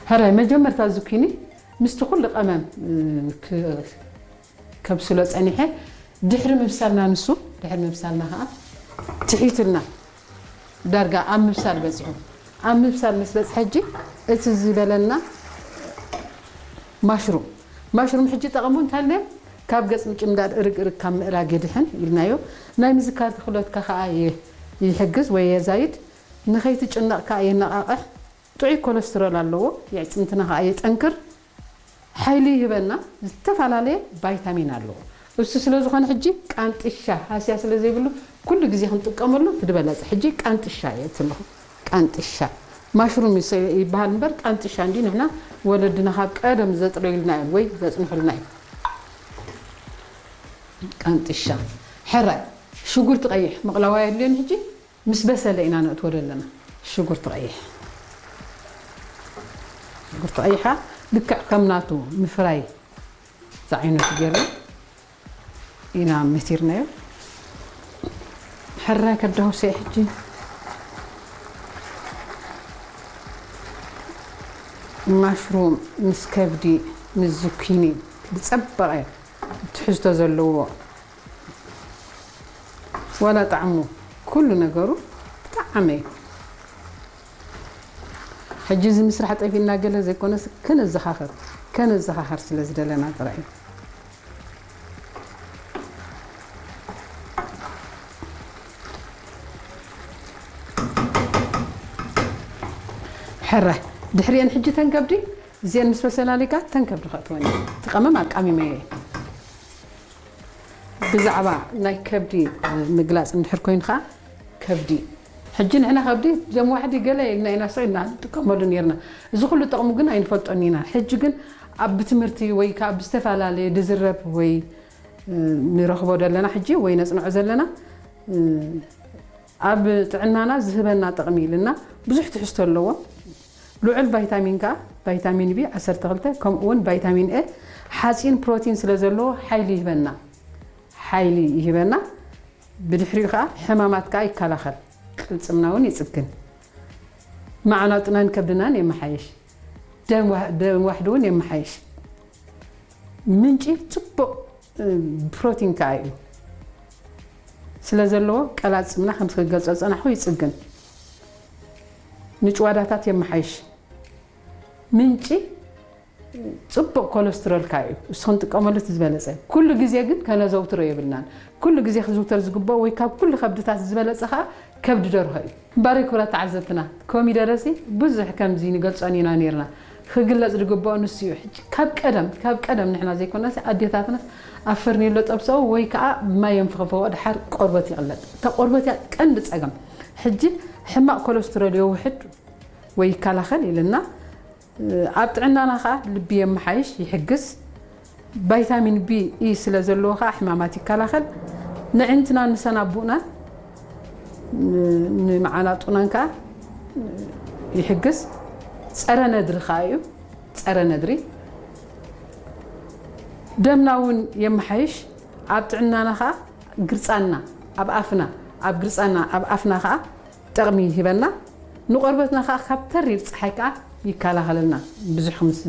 ሕራይ መጀመርታ ዝኩኒ ምስቲ ኩሉ ቀመም እ፣ ክ- ከብስሎ ጸኒሐ። ድሕሪ ምብሳልና፣ ንሱ ድሕሪ ምብሳልና ከዓ ትሒቱልና፣ ዳርጋ ኣብ ምብሳል በጺሑ። ኣብ ምብሳል ምስ በጽሐ ሕጂ እቲ ዝበለና ማሽሩም፣ ማሽሩም ሕጂ ጠቕሙ እንታይ ኣሎ? ካብ ገጽ ምጭምዳድ እርግ እርግ ካብ ምእራግ የድሕን ኢልናዮ። ናይ ምዝካር ክእለትካ ከዓ የ- ይሕግዝ ወይ የዛይድ። ንኸይትጭነቕ ከዓ የነቓቕሕ። ጥዑይ ኮለስትሮል ኣለዎ። የዕፅምትና ከዓ የጠንክር። ሓይሊ ይህበና። ዝተፈላለየ ቫይታሚን ኣለዎ። እሱ ስለ ዝኾነ ሕጂ ቃንጥሻ ሃስያ ስለ ዘይብሉ ኩሉ ግዜ ክንጥቀመሉ ትድበለፀ። ሕጂ ቃንጥሻ እየ እትለኹ። ቃንጥሻ ማሽሩም ይስ- ይበሃል እምበር ቃንጥሻ እንዲ ንሕና ወለድና ካብ ቀደም ዘጥረዩልና እዮም ወይ ዘፅንሑልና እዮም። ቃንጥሻ። ሕራይ ሽጉርቲ ቀይሕ ምቕላዋ የድልዮን። ሕጂ ምስ በሰለ ኢና ነእትዎ ዘለና። ሽጉርቲ ቀይሕ፣ ሽጉርቲ ቀይሓ ልክዕ ከም ናቱ ምፍራይ ዝዓይነቱ ጌርና ኢና መቲርናዮ። ሕራይ ከዳውሰ ሕጂ ማሽሩም ምስ ከብዲ ምስ ዝኩኒ ብጸበቐ ትሕዝቶ ዘለዎ፣ ዋላ ጣዕሙ ኩሉ ነገሩ ብጣዕሚ እዩ። ሕጂ እዚ ምስራሕ ጠፊእና ገለ ዘይኮነስ ከነዘኻኸር፣ ከነዘኻኸር ስለ ዝደለና ጥራይ እዩ። ሕራይ ድሕሪአን ሕጂ ተን ከብዲ እዚአን ምስ በሰላሊካ ተን ከብዲ ከእትወን እየ። እቲ ቀመም ኣቃሚመዮ እየ። ብዛዕባ ናይ ከብዲ ምግላፅ እንድሕር ኮይኑ ከዓ ከብዲ ሕጂ ንሕና ከብዲ ጀም ዋሕዲ ገለ ኢልና ኢና ሰው ኢና ንጥቀመሉ ነርና። እዚ ኩሉ ጥቕሙ ግን ኣይንፈልጦን ኢና። ሕጂ ግን ኣብ ብትምህርቲ ወይ ከዓ ብዝተፈላለየ ድዝረብ ወይ ንረኽቦ ዘለና ሕጂ ወይ ነፅንዖ ዘለና ኣብ ጥዕናና ዝህበና ጥቕሚ ኢልና ብዙሕ ትሕዝቶ ኣለዎ። ልዑል ቫይታሚን ከኣ ቫይታሚን ቢ ዓሰርተ ክልተ ከምኡ እውን ቫይታሚን ኤ ሓፂን ፕሮቲን ስለ ዘለዎ ሓይሊ ይህበና። ሓይሊ ይህበና። ብድሕሪኡ ከኣ ሕማማት ከኣ ይከላኸል። ቅልፅምና እውን ይፅግን። መዓናጡናን ከብድናን የመሓየሽ። ደም ዋህ- ደም ዋሕዲ እውን የመሓየሽ። ምንጪ ፅቡቕ ፕሮቲን ከኣ እዩ ስለ ዘለዎ ቀላፅምና ከም ዝገልፆ ዝፀናሕኩ ይፅግን። ንጭዋዳታት የመሓይሽ። ምንጪ ፅቡቕ ኮለስትሮል ከኣ እዩ። እሱ ክንጥቀመሉ እቲ ዝበለፀ። ኩሉ ግዜ ግን ከነዘውትሮ የብልናን። ኩሉ ግዜ ክዝውተር ዝግብኦ ወይ ካብ ኩሉ ከብድታት ዝበለፀ ከኣ ከብዲ ደርሆ እዩ። እምበኣር ክቡራት ተዓዘብትና፣ ኮሚደረሲ ብዙሕ ከምዚ ንገልጾን ኢና ነይርና። ክግለጽ ዝግብኦ ንሱ እዩ። ሕጂ ካብ ቀደም፣ ካብ ቀደም ንሕና ዘይኮናስ ኣዴታትናስ ኣብ ፈርኔሎ ጠብሰኦ ወይ ከኣ ብማይ የንፍኽፍኽኦ፣ ድሓር ቆርበት ይቕለጥ። እታ ቆርበት እያ ቀንዲ ጸገም። ሕጂ ሕማቕ ኮለስትሮል የውሕድ ወይ ይከላኸል ኢልና ኣብ ጥዕናና ከኣ ልቢ የመሓይሽ፣ ይሕግዝ። ቫይታሚን ቢ ኢ ስለ ዘለዎ ከኣ ሕማማት ይከላኸል። ንዕንትናን ንሰናቡእናን ን- ንመዓናጡናን ከኣ ይሕግዝ። ጸረ ነድሪ ከኣ እዩ። ጸረ ነድሪ ደምና እውን የመሓይሽ። ኣብ ጥዕናና ከኣ ግርጻና ኣብ ኣፍና ኣብ ግርጻና ኣብ ኣፍና ከኣ ጠቕሚ ይህበና። ንቆርበትና ከኣ ካብ ተሪር ጸሓይ ከኣ ይከላኸለልና። ብዙሕ ምስ